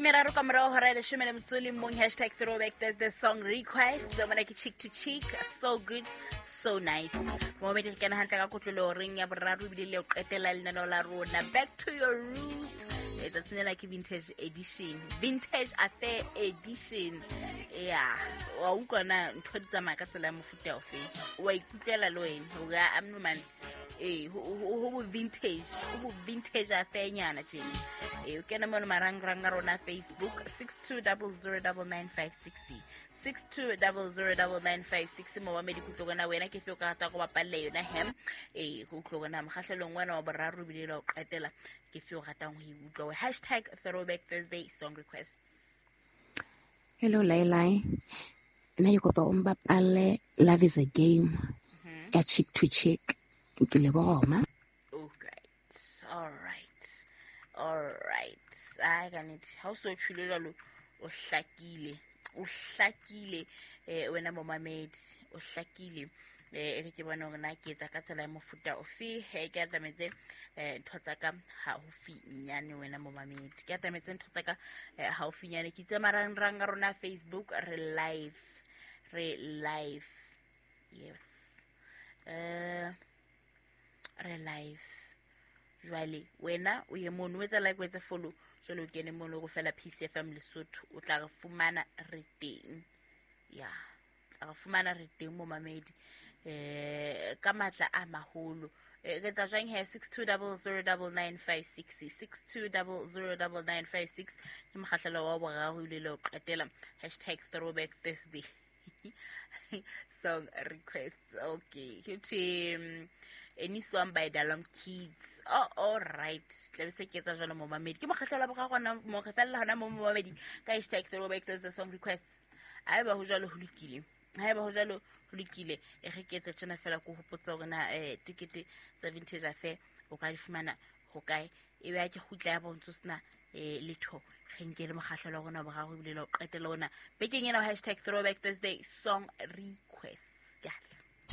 Meraro ka morao hora ya leshome le motso le mong. Hashtag throwback Thursday song request. Mona ke Cheek to Cheek, so good, so nice. Momamedi, re kena hantle ka kotlolo reng ya boraro ebile le ho qetela lenaneo la rona, back to your roots. Tsatsing lena ke vintage edition, vintage affair edition. Ya wa utlwa na ntho di tsamaya ka tsela ya mofuta ofe? Wa ikutlwela le wena hore a amno man, ee, ho bo vintage, ho bo vintage affair nyana tjena. Ee, o kene mono marangrang a rona, Facebook 62009956, 62009956. Momamedi, ke utlwe wena ke fe o ka rata go bapalle yona hem. Ee, go utlwe bona mokgahlelong wena wa boraro ebile le wa ho qetela, ke fe o ratang ho e utlwa? Hashtag throwback Thursday song requests. Hello Lailai. Nna ke kopa o mbapalle Love Is a Game ya Cheek to Cheek. Ke leboga ma. Oh, great. All right. All right. Ai, ka nnete. Ha o so tjhule jwalo, o hlakile. O hlakile, wena momamedi, o hlakile. E re ke bone hore na ke etsa ka tsela ya mofuta ofe. He, ke atametse ntho tsa ka haufinyane, wena momamedi. Ke atametse ntho tsa ka haufinyane. Ke itse marangrang a rona, Facebook re live. Re live. Yes. Re live. Jwale wena o ye mono, o etsa like, o etse follow, jwale o kene mono go fela PCFM Lesotho, o tla re fumana re teng. Ya, tla re fumana re teng, momamedi, ka matla a maholo. Re etsa jwang he? 62009956, 62009956 ke mokgahlelo wa boraro ile le ho qetela, hashtag throwback Thursday song requests. Okay, ke thwe any song by Dalom Kids. Oh, all right, tla be se ke etsa jalo, momamedi. Ke mokgahlelo wa boraro gona mo, re fella hona mo, momamedi, ka hashtag throwback Thursday song requests. Haeba ho jwalo, ho lokile. Haeba ho jwalo, ho lokile. E re ke etse tjena fela, ko hopotsa hore na tikete tsa vintage affair o ka di fumana ho kae. E be ke kgutla ya bontso sena letho, re nke le mokgahlelo wa rona wa boraro ebile le ho qetela ona bekeng ena, hashtag throwback Thursday song request. Ke a tla.